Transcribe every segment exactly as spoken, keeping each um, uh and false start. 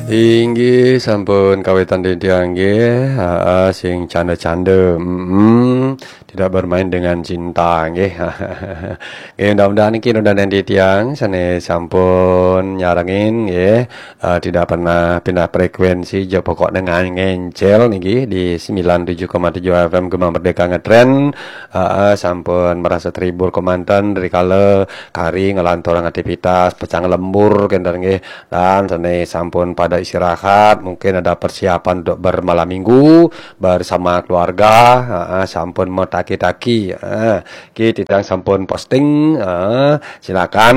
Inggih, sampun kawitan titiang nggih. Aa, sing canda-canda. Mm-mm. Tidak bermain dengan cinta nggih. Nggih, mudah-mudahan niki nunan titiang sane sampun nyarengin nggih. Aa, tidak pernah pindah frekuensi, ja pokoknya ngan-, ngencel niki di sembilan tujuh koma tujuh F M Gema Merdeka Ngetren. Aa, sampun merasa terhibur kemanten dari kala kari ngelanturang aktivitas pecah lembur kenten nggih. Dan sane sampun pada istirahat, mungkin ada persiapan untuk bermalam minggu bersama keluarga. Aa, sampun metaki-taki. Aa, ki titiang sampun posting. Aa, silakan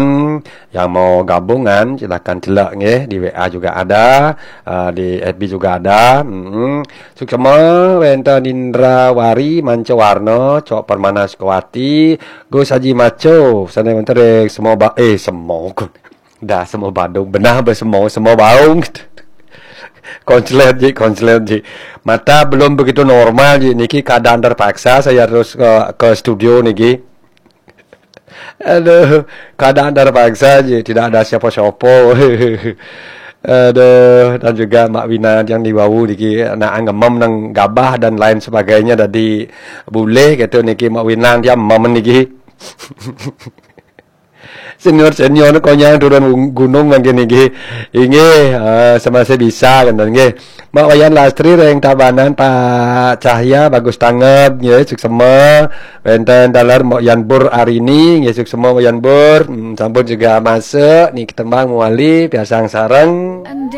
yang mau gabungan, silakan celek nggih, di W A juga ada, aa, di F B juga ada. Mm-mm. Suksma wenten Indra Wari, Manca Warna, Cok Permana Sukawati, Gus Haji Maco, sane wenten ring Semo Ba-, eh, Semo. Dah Semo Badung, benah be Semo, Semo Baung. Konslet ji, konslet ji. Mata belum begitu normal ji, niki keadaan terpaksa saya harus ke, ke studio niki. Aduh, keadaan terpaksa ji, tidak ada siapa-siapa. Aduh, dan juga Mak Wina yang di bawah niki, nak ngemem nang gabah dan lain sebagainya, dadi bulih gitu niki Mak Wina yang mem niki. Senior-senior konyang turun gung-, gunung mangkin niki. Inggih, eh, semasa bisa kenten nggih. Mak Wayan Lastri ring Tabanan, Pak Cahya bagus tanggap nggih, suksema. Wenten taler Mak Yan Bur Arini nggih, suksema Mak Yan Bur. Hmm, sampun juga masuk niki tembang mewali piasang sareng.